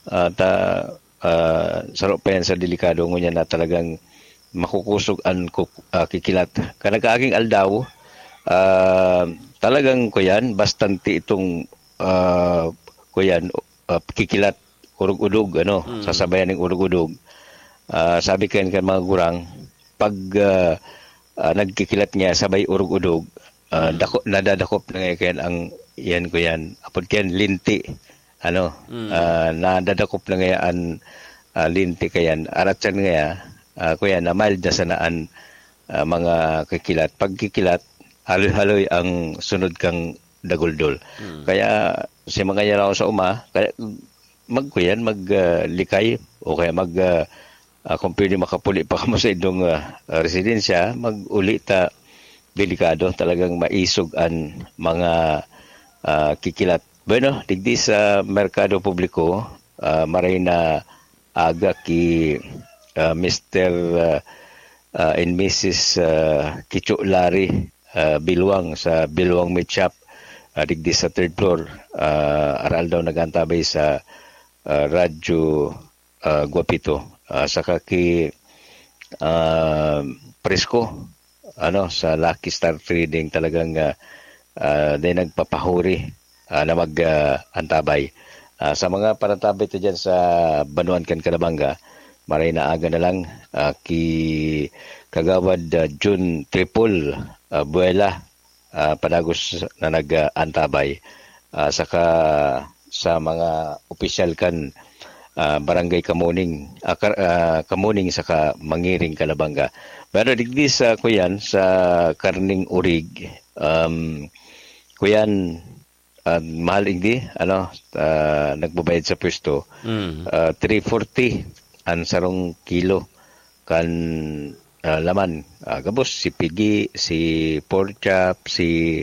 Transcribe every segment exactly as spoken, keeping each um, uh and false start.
Ah, ta, ah, saro pa yan sa delikado, ngunyan na talagang makukusog an kuk-, ah, kikilat. Kan nagkaaging aldaw, ah, talagang kuyan, bastante itong, ah, kuyan, ah, kikilat, urog-udog, ano, Mm. sasabayan ng urog-udog. Ah, sabi kan, kan mga gurang, pag, ah, ah, nagkikilat nga sabay urog-udog, ah, Mm. dako-, nadadakop na nga yan ang, yan ko yan. Apod kan linti, ano, Mm. ah, nadadakop na nga an, ah, linti kayan. Arat siya nga, ah, kuya, na mild na sana an, ah, mga kikilat. Pag kikilat, haloy-haloy ang sunod kang daguldol. Mm. Kaya, si mga yaraw sa uma, kaya magkuyan, mag, ah, likay, o kaya mag, ah, ah, kung pwede makapuli pa kamo sa indong, ah, ah, residensya, mag-uli ta, delikado, talagang maisog an mga, ah, kikilat. Bueno, digdi sa merkado publiko, ah, maray na aga ki, ah, Mister, ah, ah, and Missus, ah, Kicho Larry, ah, Bilwang sa Bilwang Meat Shop, ah, digdi sa third floor. Ah, aral daw nag-antabay sa, ah, Radyo, ah, Guapito. Ah, saka ki, ah, Presko, ano, sa Lucky Star Trading talagang, ah, ah, din nagpapahuri, ah, na mag, ah, antabay. Ah, sa mga panantabay ta dyan sa Banuan kan Calabanga, maray na aga na lang, ah, ki Kagawad, ah, June Triple, ah, Buela, ah, padagos na nag, ah, antabay. Ah, saka sa mga opisyal kan, ah, Barangay Kamuning, ah, Kar-, ah, Kamuning saka Mangiring, Calabanga. Pero digdi sa, kuyan, sa karning urig, um, kuyan, ah, mahal igdi, ano, ah, nagbabayad sa pwesto, Mm. ah, three forty an sarong kilo kan, ah, laman. Ah, gabos, si pigi, si pork chop, si,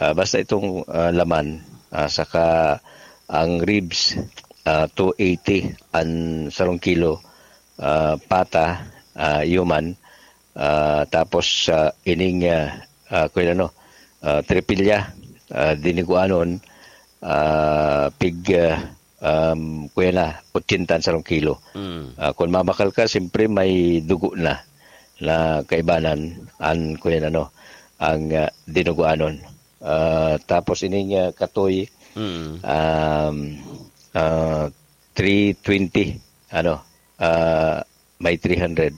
ah, basta itong, ah, laman, ah, saka ang ribs, ah, two eighty an sarong kilo, ah, pata, ah, yuman, ah, tapos, ah, ining, ah, ah, kuya ano, ah, tripilya, ah, diniguanon, ah, pig, ah, um, kuya na, ochenta an sarong kilo. Mm. Ah, kung mabakal ka, siyempre may dugo na, na kaibanan an, kuya ano, ang, ah, dinuguanon. Ah, tapos ining, ah, katoy, Mm. um, ah, three twenty, ano, ah, may three hundred.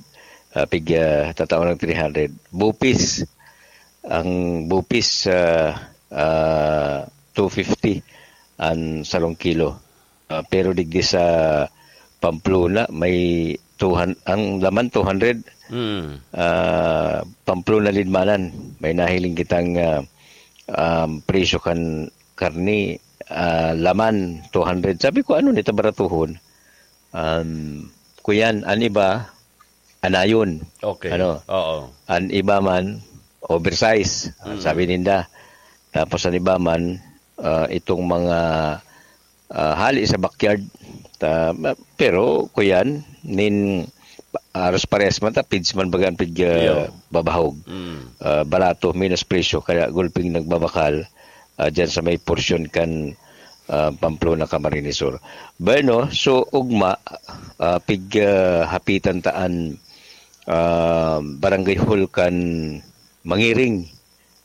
Ah, pig, ah, tataon ng three hundred. Bupis, ang bupis, ah, ah, two fifty an sarong kilo. Ah, pero digdi sa Pamplona, may two hundred, ang laman two hundred. Mm. Ah, Pamplona, Lidmanan, may nahiling kitang, ah, um, presyo kan karni, ah, laman two hundred. Sabi ko, "Ano nita baratuhon?" Um, kuyan, an iba, anayon. Okay. Ano? Oo. An iba man, oversize, ang Mm. sabi ninda. Tapos an iba man, ah, itong mga, ah, hali sa backyard. Ta-, ma-, pero, kuyan, nin, aros parehas man ta, pids man baga an pig, ah, Iyo. babahog. Mm. Ah, barato, minus presyo, kaya gulping nagbabakal, ah, dyan sa may porsyon kan, ah, Pamplona, Camarines Sur. Bueno, so, ugma, ah, pig, ah, hapitan ta an, ah, barangay hall kan Mangiring,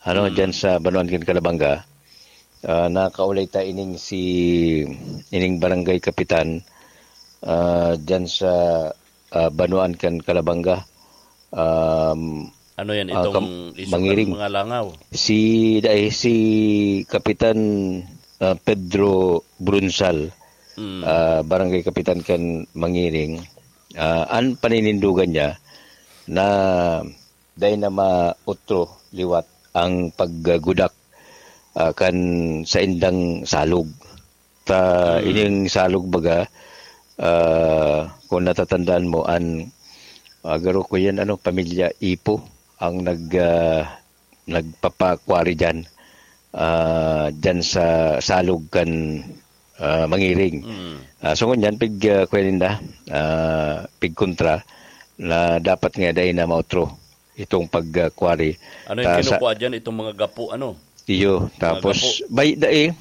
ano, Mm. dyan sa Banuan kan Calabanga. Ah, nakaulay ta ining si, ining barangay kapitan, ah, dyan sa, ah, Banuan kan Calabanga. Um, Ano yan? ah, Itong kam-, iso kan Mangiring. Mga langaw? Si, dai, si Kapitan, ah, Pedro Brunsal, Mm. ah, barangay kapitan kan Mangiring. Ah, an paninindugan niya na dai na maotro liwat ang paggudak, ah, kan saindang salog. Ta, Mm. ining salog baga, ah, kung natatandaan mo, an, ah, garo ko yan, ano, pamilya Ipo ang nag, ah, nagpapakwari diyan, ah, diyan sa salog kan, ah, Mangiring. Mm. Ah, so ngunyan, pig, ah, kuya ninda, ah, pig kontra na dapat nga dai na maotro itong pag, ah, quarry. Ano yung Ta-, sa kinukuha dyan? Itong mga gapo, ano? Iyo, Mga tapos, gapo. Bay, dai,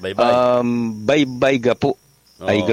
Baybay. um, baybay gapo. Oo. Ay,